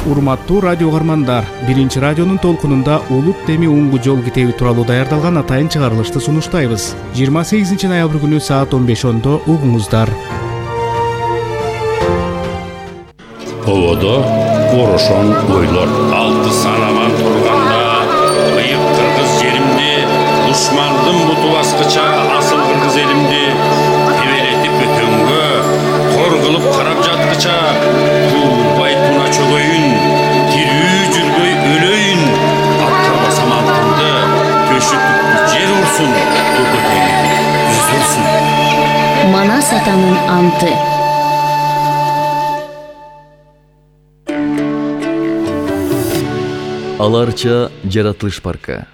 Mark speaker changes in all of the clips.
Speaker 1: Урматтуу радио угармандар, биринчи радионун толкунунда Улут Теми Уңгу жол китеби тууралуу даярдалган атайын чыгарылышты сунуштайбыз. 28 ноябрь күнү саат 15:10 угуңуздар.
Speaker 2: Ободо орошон ойлор алты санаман турганда, ыйык кыргыз жеримди, душмандын буту баскыча асыл кыргыз элимди тебелетип өтөнгө, кор кылып карап жаткыча, туубай туна чөгөйүн, тирүү жүрбөй өлөйүн, атка басам антымды, төшүтүп жер урсун, көкөтеңи үзүлсүн.
Speaker 3: Манас атанын анты.
Speaker 4: Аларча жаратылыш паркы.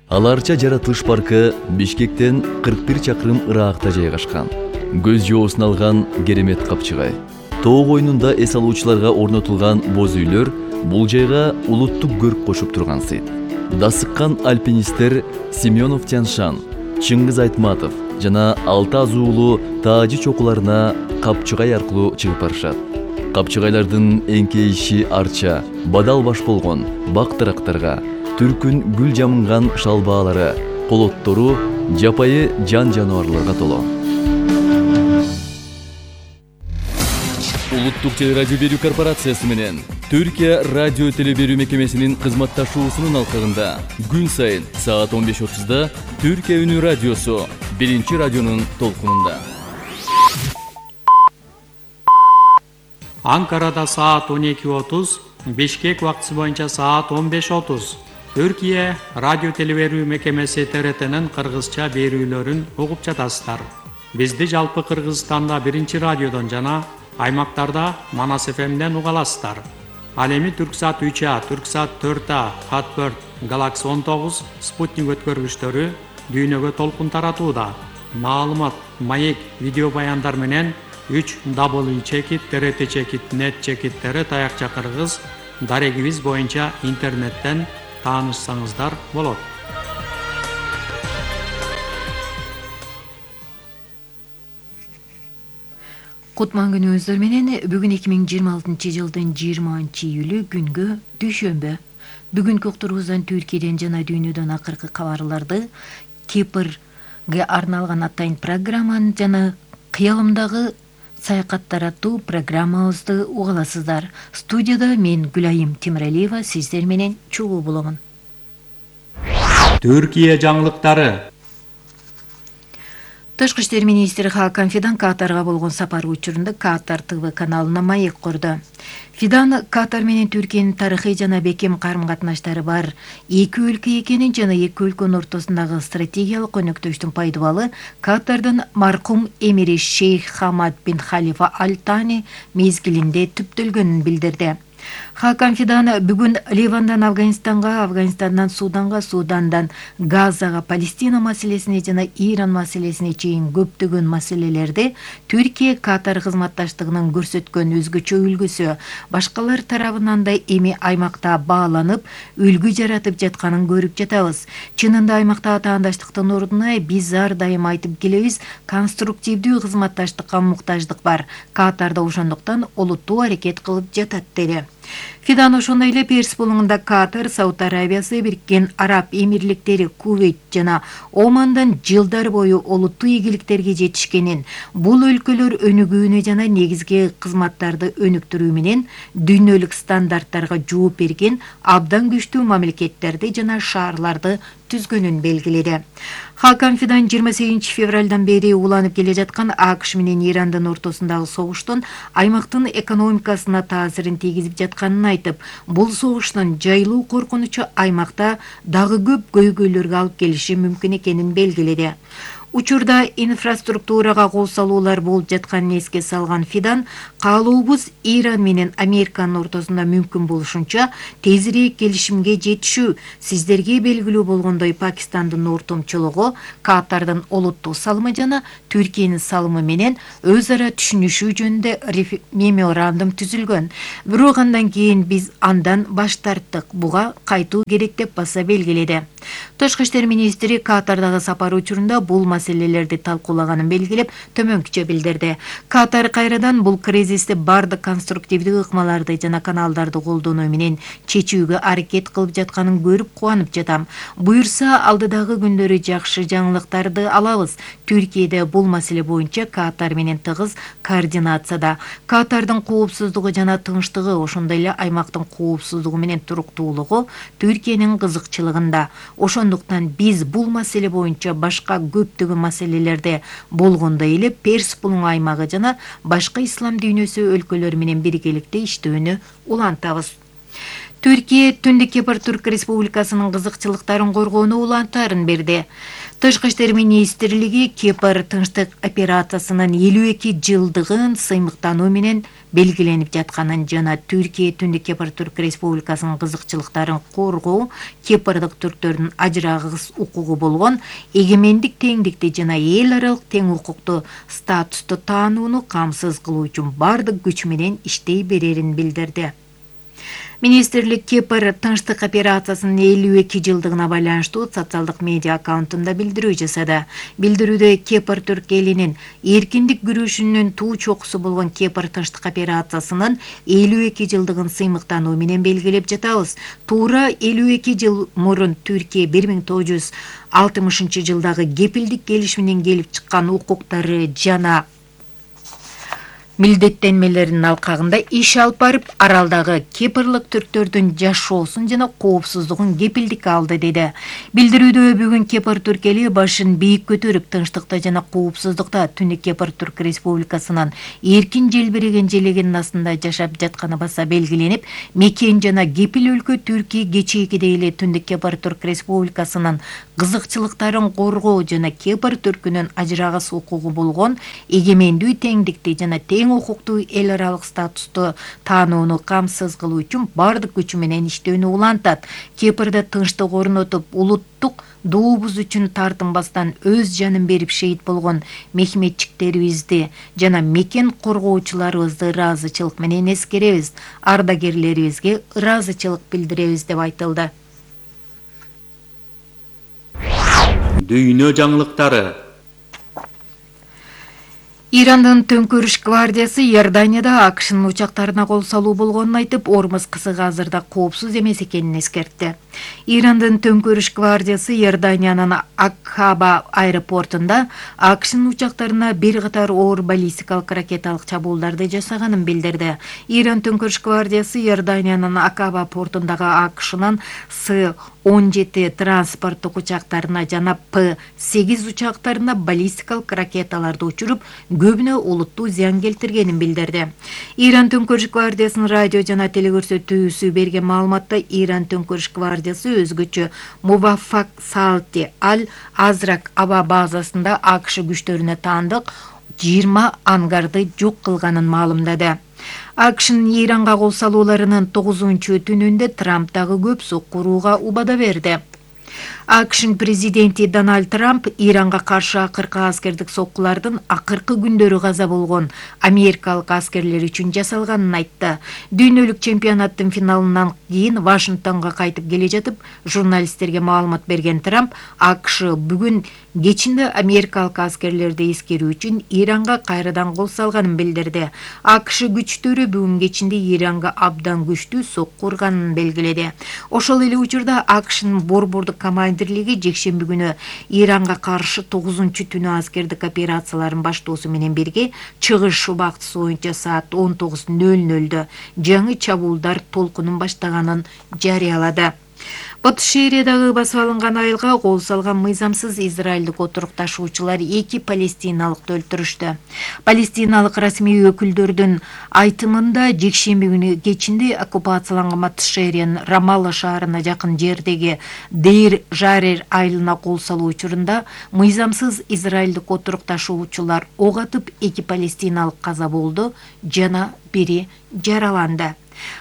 Speaker 4: Аларча жаратылыш паркы Бишкектен 41 чакырым ыракта жайгашкан. Көз жоосун алган керемет капчыгай. Тоо койнунда эс алуучуларга орнотулган боз үйлөр бул жайга улуттук көрк кошуп турган сыйт. Дасыккан альпинисттер Семенов Тяншан, Чыңгыз Айтматов жана Алты Азуулу Таажы чокуларына капчыгай аркылуу чыгып барышат. Капчыгайлардын эңкейиши арча, бадал баш болгон бактырактарга, түркүн гүл жамынган шалбаалары, колоттору жапайы жан жаныбарларга толо. Улуттук телерадио берүү корпорациясы менен Түркия радио телеберүү мекемесинин кызматташуусунун алкагында күн сайын саат 15:30 Түркия үнү радиосу биринчи радионун толкунунда.
Speaker 5: Анкарада саат 12:30, Бишкек убактысы боюнча саат 15:30. Түркия радио телеберүү мекемеси ТРТнын кыргызча берүүлөрүн угуп жатасыздар. Бизди жалпы Кыргызстанда биринчи радиодон жана аймактарда Манас ФМден уга аласыздар. Ал эми Түрксат 3А, Түрксат 4А, Хатберт, Galaxy 19, Спутник өткөргүчтөрү дүйнөгө толкун таратууда. Маалымат, маек, видео баяндар менен 3w.trt.net таякча кыргыз дарегибиз боюнча интернеттен таанышсаңыздар болот.
Speaker 6: Кутман күнүңүздөр менен бүгүн 2026 жылдын 20-июлү күнгө дүйшөмбү. Бүгүнкү уктуруубуздан Түркияден жана дүйнөдөн акыркы кабарларды, Кипрге арналган атайын программаны жана кыялымдагы саякаттар аттуу программабызды угаласыздар. Студияда мен Гүлайым Тимиралиева сиздер менен чогуу боломун.
Speaker 5: Түркия жаңылыктары.
Speaker 6: Тышкы иштер министри Хакан Фидан Катарга болгон сапары учурунда Катар ТВ каналына маек курду. Фидан Катар менен Түркиянын тарыхый жана бекем карым-катнаштары бар эки өлкө экенин жана эки өлкөнүн ортосундагы стратегиялык өнөктөштүн пайдабалы Катардын маркум эмири Шейх Хамад бин Халифа Аль-Тани мезгилинде түптөлгөнүн билдирди. Хакан Фидан бүгүн Ливандан Афганистанга, Афганистандан Суданга, Судандан Газага, Палестина маселесине жана Иран маселесине чейин көптөгөн маселелерде Түркия Катар кызматташтыгынын көрсөткөн өзгөчө үлгүсү башкалар тарабынан да эми аймакта бааланып, үлгү жаратып жатканын көрүп жатабыз. Чынында аймакта атаандаштыктын ордуна биз ар дайым айтып келебиз, конструктивдүү кызматташтыкка муктаждык бар. Катарда ошондуктан олуттуу аракет кылып жатат деди. Фидан ошондой эле Перс булуңунда Катар, Сауд Арабиясы, Бириккен Араб Эмирликтери, Кувейт жана Омандан жылдар бою олуттуу ийгиликтерге жетишкенин, бул өлкөлөр өнүгүүнү жана негизги кызматтарды өнүктүрүү менен дүйнөлүк стандарттарга жооп берген абдан күчтүү мамлекеттерди жана шаарларды түзгөнүн белгиледи. Хакан Фидан 28 февралдан бери уланып келе жаткан АКШ менен Ирандын ортосундагы согуштун аймактын экономикасына таасирин тийгизип жатканын айтып, бул согуштун жайлуу коркунучу аймакта дагы көп көйгөйлөргө алып келиши мүмкүн экенин белгиледи. Учурда инфраструктурага кол салуулар болуп жатканын эске салган Фидан, каалообуз Иран менен Американын ортосунда мүмкүн болушунча тезирээк келишимге жетишүү. Сиздерге белгилүү болгондой Пакистандын ортомчулугу Катардын олуттуу салымы жана Түркиянын салымы менен өз ара түшүнүшүү жөнүндө меморандум түзүлгөн. Бирок андан кийин биз андан баш тарттык. Буга кайтуу керек деп баса белгиледи. Тышкы иштер министри Катардагы сапары учурунда бул маселелерди талкуулаганын белгилеп, төмөнкүчө билдирди. Катар кайрадан бул кризисти бардык конструктивдүү ыкмаларды жана каналдарды колдонуу менен чечүүгө аракет кылып жатканын көрүп кубанып жатам. Буюрса, алдыдагы күндөрү жакшы жаңылыктарды алабыз. Түркияда бул маселе боюнча Катар менен тыгыз координацияда. Катардын коопсуздугу жана тынчтыгы, ошондой эле аймактын коопсуздугу менен туруктуулугу Түркиянын кызыкчылыгында. Ошондуктан биз бул маселе боюнча башка көптөгөн маселелерде болгондой эле Перс булуң аймагы жана башка ислам дүйнөсү өлкөлөрү менен биргеликте иштөөнү улантабыз. Түркия Түндүк Кипр Түрк Республикасынын кызыкчылыктарын коргоону улантарын берди. Тышкы иштер министрлиги Кипр тынчтык операциясынын 52 жылдыгын сыймыктануу менен белгиленип жатканын жана Түркия Түндүк Кипр Түрк Республикасынын кызыкчылыктарын коргоо Кипрдык түрктөрдүн ажырагыс укугу болгон эгемендик теңдикти жана эл аралык тең укуктуу статусту таанууну камсыз кылуу үчүн бардык күч менен иштей берерин билдирди. Министрлик Кипр тынчтык операциясынын 52 жылдыгына байланыштуу социалдык медиа аккаунтунда билдирүү жасады. Билдирүүдө Кипр түрк элинин эркиндик күрөшүнүн туу чокусу болгон Кипр тынчтык операциясынын 52 жылдыгын сыймыктануу менен белгилеп жатабыз. Туура 52 жыл мурун Түркия 1960 жылдагы кепилдик келишиминен келип чыккан укуктары жана милдеттенмелеринин алкагында иш алып барып, аралдагы кипрлык түрктөрдүн жашоосун жана коопсуздугун кепилдик алды деди. Билдирүүдө бүгүн Кипр түрк эли башын бийик көтөрүп, тынчтыкта жана коопсуздукта Түндүк Кипр Түрк Республикасынын эркин желбиреген желегинин астында жашап жатканы баса белгиленип, мекен жана кепил өлкө Түркия кечээкидей эле Түндүк Кипр Түрк Республикасынын кызыкчылыктарын коргоо жана Кипр түркүнүн ажырагыс укугу болгон эгемендүү теңдикти жана тең укуктуу эл аралык статусту таанууну камсыз кылуу үчүн бардык күчү менен иштөөнү улантат. Кипрде тынчтык орнотуп, улуттук дуубуз үчүн тартынбастан өз жанын берип шейит болгон мехметчиктерибизди жана мекен коргоочуларыбызды ыраазычылык менен эскеребиз, ардагерлерибизге ыраазычылык билдиребиз деп айтылды.
Speaker 5: Дүйнө жаңылыктары.
Speaker 6: Ирандын Төңкөрүш гвардиясы Иорданияда АКШнын учактарына кол салуу болгонун айтып, Ормуз кысыгы азырда коопсуз эмес экенин эскертти. Ирандын Төңкөрүш гвардиясы Иорданиянын Акаба аэропортунда АКШнын учактарына бир катар оор баллистикалык ракеталык чабуулдарды жасаганын билдирди. Иран Төңкөрүш гвардиясы Иорданиянын Акаба портундагы АКШнын С-17 транспорттук учактарына жана П-8 учактарына баллистикалык ракеталарды учуруп, көбүнө улуттуу зыян келтиргенин билдирди. Иран Төңкөрүш гвардиясынын радио жана телекөрсөтүүсү берген маалыматта Иран Төңкөрүш гвардиясы өзгөчө Муваффак Салти Аль-Азрак аба базасында АКШ күчтөрүнө таандык 20 ангарды жок кылганын маалымдады. АКШнын Иранга кол салууларынын 9-түнүндө Трамп дагы көп соккурууга убада берди. АКШнын президенти Дональд Трамп Иранга каршы акыркы аскердик соккулардын акыркы күндөрү каза болгон америкалык аскерлер үчүн жасалганын айтты. Дүйнөлүк чемпионаттын финалынан кийин Вашингтонго кайтып келе жатып, журналисттерге маалымат берген Трамп АКШ бүгүн кечинде америкалык аскерлерди эскерүү үчүн Иранга кайрадан кол салганын билдирди. АКШ күчтөрү бүгүн кечинде Иранга абдан күчтүү сокку урганын белгиледи. Ошол эле учурда АКШнын борбордук командирлиги жекшемби күнү Иранга каршы 9-түнү аскердик операцияларын баштоосу менен бирге чыгыш убактысы боюнча саат 19:00 жаңы чабуулдар толкунун баштаганын жарыялады. Батыш Шериядагы басып алынган айылга кол салган мыйзамсыз израилдик отурукташуучулар 2 палестиналыкты өлтүрүштү. Палестиналык расмий өкүлдөрдүн айтымында жекшемби күнү кечинде оккупацияланган Батыш Шериянын Рамалла шаарына жакын жердеги Дейр Жарер айылына кол салуу учурунда мыйзамсыз израилдик отурукташуучулар ок атып 2 палестиналык каза болду жана бири жараланды.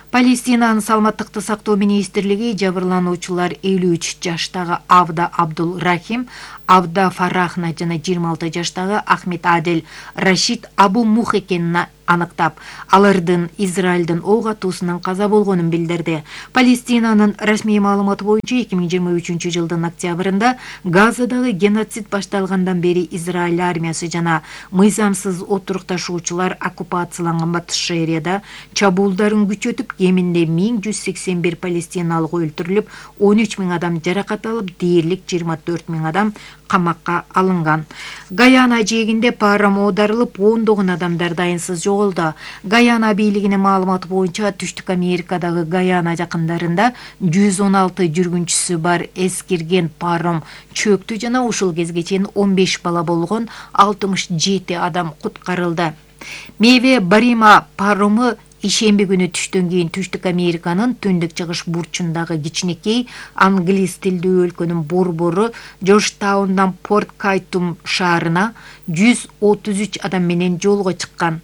Speaker 6: Палестинанын саламаттыкты сактоо министрлиги жабырлануучулар 53 жаштагы Авда Абдул Рахим, Авда Фарахна жана 26 жаштагы Ахмед Адель Рашид Абу Мух экенин аныктап, алардын Израилдин ок атуусунан каза болгонун билдирди. Палестинанын расмий маалыматы боюнча 2023 жылдын октябрында Газадагы геноцид башталгандан бери Израиль армиясы жана мыйзамсыз отурукташуучулар оккупацияланган Батыш Шаарияда чабуулдарын күчөтүп, кеминде 1181 палестиналык өлтүрүлүп, 13 000 адам жаракат алып, дээрлик 24 000 адам камакка алынган. Гаяна жээгинде паром оодарылып, ондогон адамдар дайынсыз жоголду. Гаяна бийлигинин маалыматы боюнча Түштүк Америкадагы Гаяна жакындарында 116 жүргүнчүсү бар эскирген паром чөктү жана ушул кезге чейин 15 бала болгон 67 адам куткарылды. Меве Барима парому ишемби күнү түштөн кийин Түштүк Американын түндүк чыгыш бурчундагы кичинекей англис тилдүү өлкөнүн борбору Джорджтаундан Порт Кайтум шаарына 133 адам менен жолго чыккан.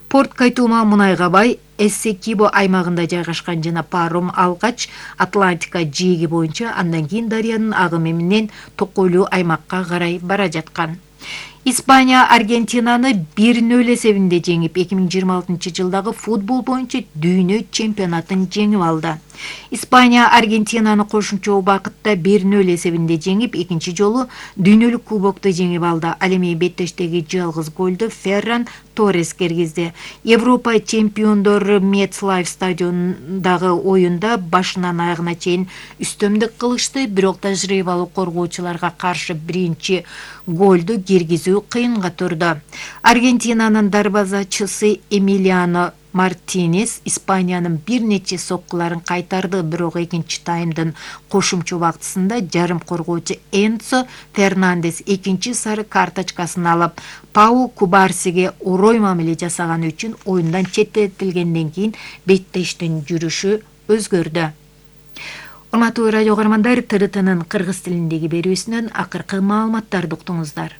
Speaker 6: Порт Кайтума мунайга бай, Эссекибо аймагында жайгашкан жана паром алгач Атлантика жээги боюнча, андан кийин дарыянын агымы менен Токойлуу аймакка карай бара жаткан. Испания Аргентинаны 1-0 эсебинде жеңип, 2026 жылдагы футбол боюнча дүйнө чемпионатын жеңип алды. Испания Аргентинаны кошумча убакытта 1-0 эсебинде жеңип, экинчи жолу дүйнөлүк кубокту жеңип алды. Ал эми беттештеги жалгыз голду Ферран Торрес киргизди. Европа чемпиондору MetLife стадионундагы оюнда башынан аягына чейин үстөмдүк кылышты, бирок тажрыйбалуу коргоочуларга каршы биринчи голду киргизүү кыйынга турду. Аргентинанын дарбазачысы Эмилиано Мартинес Испаниянын бир нече соккуларын кайтарды, бирок экинчи таймдын кошумча убактысында жарым коргоочу Энцо Фернандес экинчи сары карточкасын алып, Пау Кубарсиге орой мамиле жасаганы үчүн оюндан четтетилгенден кийин беттештин жүрүшү өзгөрдү. Урматтуу радио көрөрмандар, ТРТнын кыргыз тилиндеги берүүсүнөн акыркы маалыматтарды уктуңуздар.